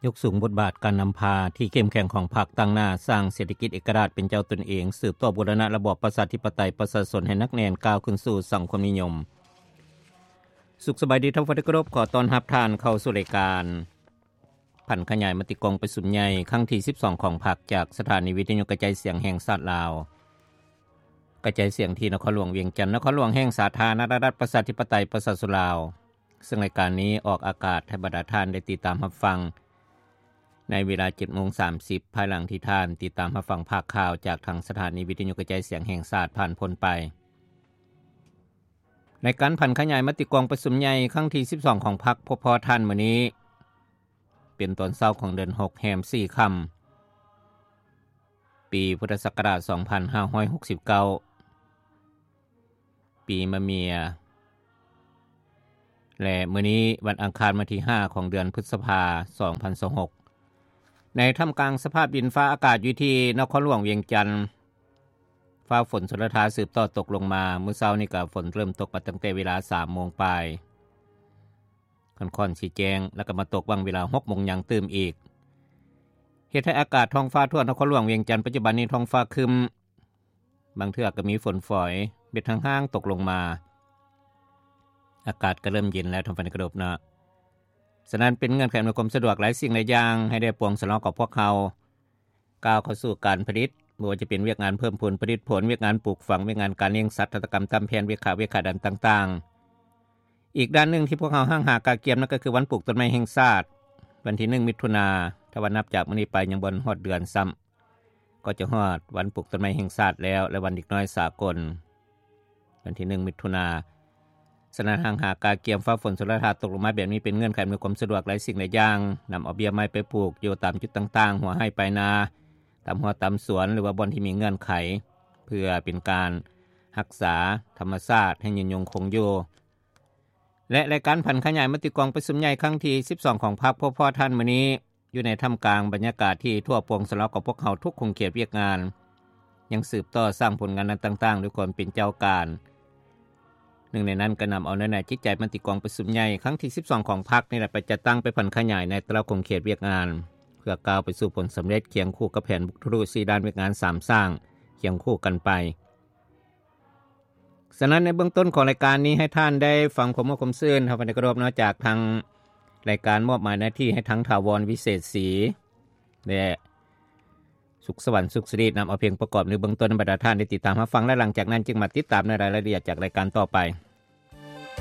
ຍົກສູງບົດບາດການນຳພາທີ່ເຂັ້ມແຂງຂອງພັກ, ຕັ້ງໜ້າສ້າງເສດຖະກິດເອກະລາດເປັນເຈົ້າຕົນເອງ, ສືບຕໍ່ບູລະນະລະບອບປະຊາທິປະໄຕ, ປະຊາຊົນໃຫ້ໜັກແໜ້ນ, ກ້າວຂຶ້ນສູ່ສັງຄົມນິຍົມ. ສຸກສະບາຍດີທ່ານຜູ້ຟັງທີ່ເຄົາລົບ, ຂໍຕ້ອນຮັບທ່ານເຂົ້າສູ່ລາຍການຜັນຂະຫຍາຍມະຕິກອງປະຊຸມໃຫຍ່ຄັ້ງທີສິບສອງຂອງພັກ ຈາກສະຖານີວິທະຍຸກະຈາຍສຽງແຫ່ງຊາດລາວ, ກະຈາຍສຽງທີ່ນະຄອນຫຼວງວຽງຈັນ, ນະຄອນຫຼວງແຫ່ງສາທາລະນະລັດປະຊາທິປະໄຕປະຊາຊົນລາວ. ເຊິ່ງລາຍການນີ້ອອກອາກາດໃຫ້ບັນດາທ່ານໄດ້ຕິດຕາມຮັບຟັງໃນເວລາເຈັດໂມງສາມສິບ ພາຍຫຼັງທີ່ທ່ານຕິດຕາມຮັບຟັງພາກຂ່າວຈາກທາງສະຖານີວິທະຍຸກະຈາຍສຽງແຫ່ງຊາດຜ່ານພົ້ນໄປ. ລາຍການຜັນຂະຫຍາຍມະຕິກອງປະຊຸມໃຫຍ່ຄັ້ງທີສິບສອງຂອງພັກ ພົບພໍ້ທ່ານມື້ນີ້ ເປັນຕອນເຊົ້າຂອງເດືອນຫົກ ແຮມສີ່ຄ່ຳ ປີພຸດທະສັກກະລາດສອງພັນຫ້າຮ້ອຍຫົກສິບເກົ້າ ປີມະເມຍ ແລະ ມື້ນີ້ວັນອັງຄານວັນທີຫ້າຂອງເດືອນພຶດສະພາ ສອງພັນຊາວຫົກ ໃນທ່າມກາງສະພາບດິນຟ້າອາກາດຢູ່ທີ່ນະຄອນຫຼວງວຽງຈັນ ຟ້າຝົນຊົນລະທາສືບຕໍ່ຕົກລົງມາ. ມື້ເຊົ້ານີ້ກໍຝົນເລີ່ມຕົກມາຕັ້ງແຕ່ເວລາສາມໂມງປາຍ ຄ່ອນໆຊິແຈ້ງ ແລ້ວກໍມາຕົກຫວ່າງເວລາຫົກໂມງຫຍັງຕື່ມອີກ ເຮັດໃຫ້ອາກາດທ້ອງຟ້າທົ່ວນະຄອນຫຼວງວຽງຈັນປັດຈຸບັນນີ້ທ້ອງຟ້າຄຶ້ມ, ບາງເທື່ອກໍມີຝົນຝອຍເມັດຫ້າງໆຕົກລົງມາ. ອາກາດກໍເລີ່ມເຢັນແລ້ວທ່ານຜູ້ຟັງທີ່ເຄົາລົບເນາະ. ສະນັ້ນເປັນເງື່ອນໄຂອຳນວຍຄວາມສະດວກຫຼາຍສິ່ງຫຼາຍຢ່າງໃຫ້ໄດ້ປວງສະເນາະກັບພວກເຮົາ ກ້າວເຂົ້າສູ່ການຜະລິດ, ບໍ່ວ່າຈະເປັນວຽກງານເພີ່ມພູນຜະລິດຜົນ, ວຽກງານປູກຝັງ, ວຽກງານການລ້ຽງສັດ, ຫັດຖະກຳ, ຕຳແຜ່ນ, ວຽກຂາ, ວຽກຂາດຳຕ່າງໆ. ອີກດ້ານໜຶ່ງທີ່ພວກເຮົາຫ້າງຫາກະກຽມນັ້ນກໍຄືວັນປູກຕົ້ນໄມ້ແຫ່ງຊາດ ວັນທີໜຶ່ງ ມິຖຸນາ. ຖ້າວ່ານັບຈາກມື້ນີ້ໄປຍັງບໍ່ຮອດເດືອນຊ້ຳ ກໍຈະຮອດວັນປູກຕົ້ນໄມ້ແຫ່ງຊາດແລ້ວ ແລະ ວັນເດັກນ້ອຍສາກົນ ວັນທີໜຶ່ງ ມິຖຸນາ. ສະນັ້ນຫ້າງຫາກະກຽມ, ຟ້າຝົນຊົນລະທາຕົກລົງມາແບບນີ້ເປັນເງື່ອນໄຂອຳນວຍຄວາມສະດວກຫຼາຍສິ່ງຫຼາຍຢ່າງ, ນຳເອົາເບ້ຍໄມ້ໄປປູກຢູ່ຕາມຈຸດຕ່າງໆ, ຫົວໄຮ່ປາຍນາ, ຕາມຮົ້ວຕາມສວນ ຫຼືວ່າບ່ອນທີ່ມີເງື່ອນໄຂ ເພື່ອເປັນການຮັກສາທຳມະຊາດໃຫ້ຍືນຍົງຄົງຢູ່. ແລະ ລາຍການຜັນຂະຫຍາຍມະຕິກອງປະຊຸມໃຫຍ່ຄັ້ງທີສິບສອງຂອງພັກ ພົບພໍ້ທ່ານມື້ນີ້ ຢູ່ໃນທ່າມກາງບັນຍາກາດທີ່ທົ່ວປວງສະເນາະຂອງພວກເຮົາທຸກຂົງເຂດວຽກງານ ຍັງສືບຕໍ່ສ້າງຜົນງານດ້ານຕ່າງໆດ້ວຍຄວາມເປັນເຈົ້າການ. ໜຶ່ງໃນນັ້ນກໍນຳເອົາເນື້ອໃນຈິດໃຈມະຕິກອງປະຊຸມໃຫຍ່ຄັ້ງທີສິບສອງຂອງພັກນີ້ແຫຼະ ໄປຈັດຕັ້ງໄປຜັນຂະຫຍາຍໃນແຕ່ລະຂົງເຂດວຽກງານ ເພື່ອກ້າວໄປສູ່ຜົນສຳເລັດຄຽງຄູ່ກັບແຜນບຸກທະລຸສີ່ດ້ານວຽກງານສາມສ້າງຄຽງຄູ່ກັນໄປ. ສະນັ້ນໃນເບື້ອງຕົ້ນຂອງລາຍການນີ້ ໃຫ້ທ່ານໄດ້ຟັງຄວາມມ່ວນຄວາມຊື່ນ ເຮົາກໍໄດ້ເຄົາລົບເນາະ ຈາກທາງລາຍການມອບໝາຍໜ້າທີ່ໃຫ້ທັງຖາວອນ ວິເສດສີ ແລະ ສຸກສະຫວັນ ສຸກສິລິ ນຳເອົາເພງປະກອບໃນເບື້ອງຕົ້ນໃຫ້ບັນດາທ່ານໄດ້ຕິດຕາມຮັບຟັງ ແລະ ຫຼັງຈາກນັ້ນຈຶ່ງມາຕິດຕາມໃນລາຍລະອຽດຈາກລາຍການຕໍ່ໄປ.